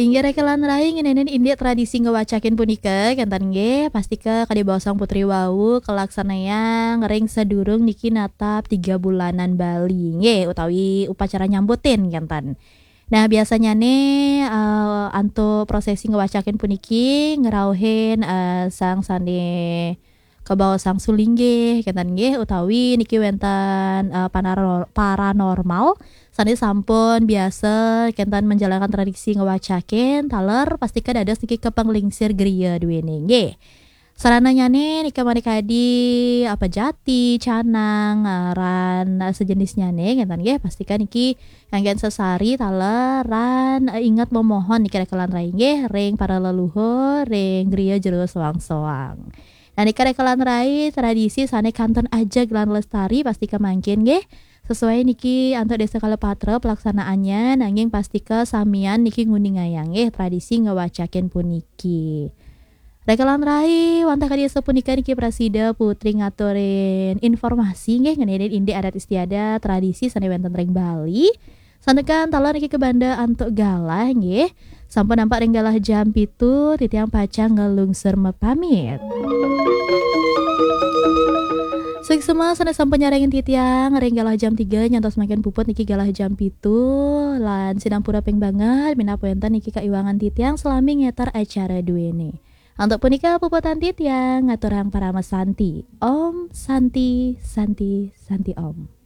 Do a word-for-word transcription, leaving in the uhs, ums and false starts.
Inggih rekelan rai, ngeninin indik tradisi ngewacakin punika, kenten nggih, pastika kadi baosang putri wau, kalaksanayang ring sadurung niki natap tiga bulanan Bali, nggih, utawi upacara nyambutin, kenten. Nah, biasanyane, eh, antuk prosesi ngewacakin puniki ngrauhin, eh, sang sane kabaosang sulinggih, kenten nggih, utawi niki wenten, eh, panaro-, paranormal sane sampun biasa kenten menjalankan tradisi ngewacakin, taler pastika dados niki kapanglingsir griya duene nggih. Sarananyane nika mani kadi apa jati, canang, eh, ran, eh, sejenisnyane, kenten nggih, pastika niki nganggen sesari taler ran, eh, inget memohon niki rekelan rai nggih ring para leluhur, ring griya jero soang-soang. Nah, nika rekelan rai tradisi sane kantun ajeg lan lestari pastika mangkin nggih. Sesuai niki antuk desa kala patra pelaksanaannya, nanging pastika samian niki nguningayang nggih tradisi ngewacakin puniki. Rekelan rai, wantah kadi sapunika niki prasida putri ngaturin informasi nggih ngeninin indik adat istiadat tradisi sane wenten ring Bali. Santukan taler niki kabanda antuk galah nggih. Sampun nampak ring galah jam pitu, titiang pacang ngelungsur mapamit. Suksma sane sampun nyarengin titiang ring galah jam tiga nyantos mangkin puput niki galah jam pitu, lan sinampura ping banget minab wenten niki kaiwangan titiang salami ngeter acara duene. Antuk punika puputang titiang ngaturang parama santi. Om Santi, Santi, Santi Om.